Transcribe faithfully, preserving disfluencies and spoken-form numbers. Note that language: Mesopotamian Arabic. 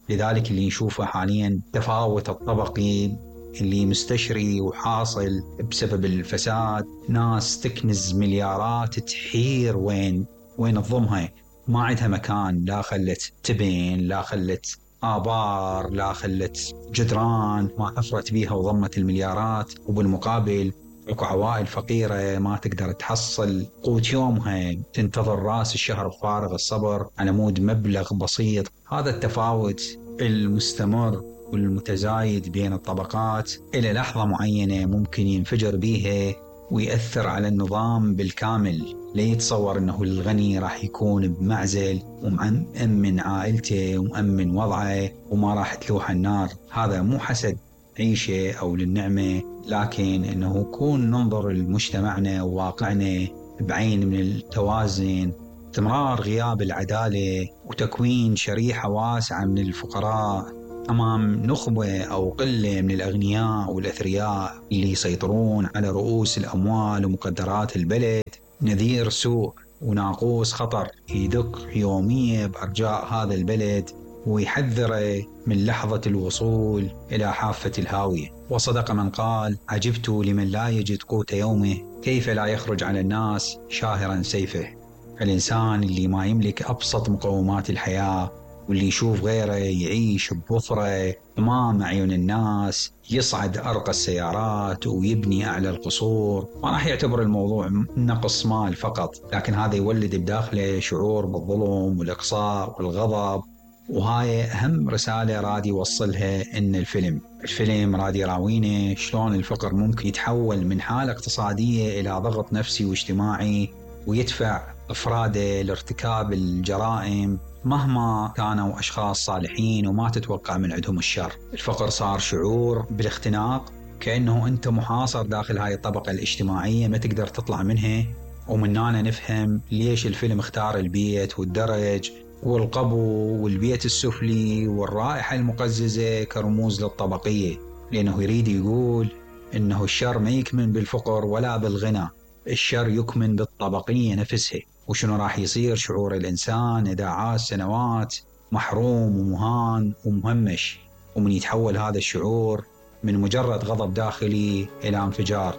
لذلك اللي نشوفه حاليا تفاوت الطبقي اللي مستشري وحاصل بسبب الفساد. ناس تكنز مليارات تحير وين وين تضمها، ما عندها مكان، لا خلت تبن، لا خلت آبار، لا خلت جدران ما حفرت بيها وضمت المليارات. وبالمقابل اكو عوائل فقيرة ما تقدر تحصل قوت يومها، تنتظر راس الشهر بفارغ الصبر على مود مبلغ بسيط. هذا التفاوت المستمر والمتزايد بين الطبقات إلى لحظة معينة ممكن ينفجر بيها ويأثر على النظام بالكامل. لا يتصور أنه الغني راح يكون بمعزل ومأمن عائلته ومأمن وضعه وما راح تلوح النار. هذا مو حسد عيشه أو للنعمة، لكن أنه يكون ننظر لمجتمعنا وواقعنا بعين من التوازن. استمرار غياب العدالة وتكوين شريحة واسعة من الفقراء أمام نخبة أو قلة من الأغنياء والأثرياء اللي يسيطرون على رؤوس الأموال ومقدرات البلد نذير سوء وناقوس خطر يدق يوميا بأرجاء هذا البلد ويحذره من لحظة الوصول إلى حافة الهاوية. وصدق من قال: عجبت لمن لا يجد قوت يومه كيف لا يخرج على الناس شاهرا سيفه. الإنسان اللي ما يملك أبسط مقومات الحياة واللي يشوف غيره يعيش بوفرة أمام عيون الناس، يصعد أرقى السيارات ويبني أعلى القصور، ما راح يعتبر الموضوع نقص مال فقط، لكن هذا يولد بداخله شعور بالظلم والإقصاء والغضب. وهاي أهم رسالة راد يوصلها إن الفيلم الفيلم راد يراوينا شلون الفقر ممكن يتحول من حالة اقتصادية إلى ضغط نفسي واجتماعي ويدفع أفراده لارتكاب الجرائم مهما كانوا أشخاص صالحين وما تتوقع من عندهم الشر. الفقر صار شعور بالاختناق، كأنه أنت محاصر داخل هاي الطبقة الاجتماعية ما تقدر تطلع منها. ومن هنا نفهم ليش الفيلم اختار البيت والدرج والقبو والبيت السفلي والرائحة المقززة كرموز للطبقية، لأنه يريد يقول إنه الشر ما يكمن بالفقر ولا بالغنى، الشر يكمن بالطبقية نفسها. وشنو راح يصير شعور الإنسان إذا عاش سنوات محروم ومهان ومهمش، ومن يتحول هذا الشعور من مجرد غضب داخلي إلى انفجار.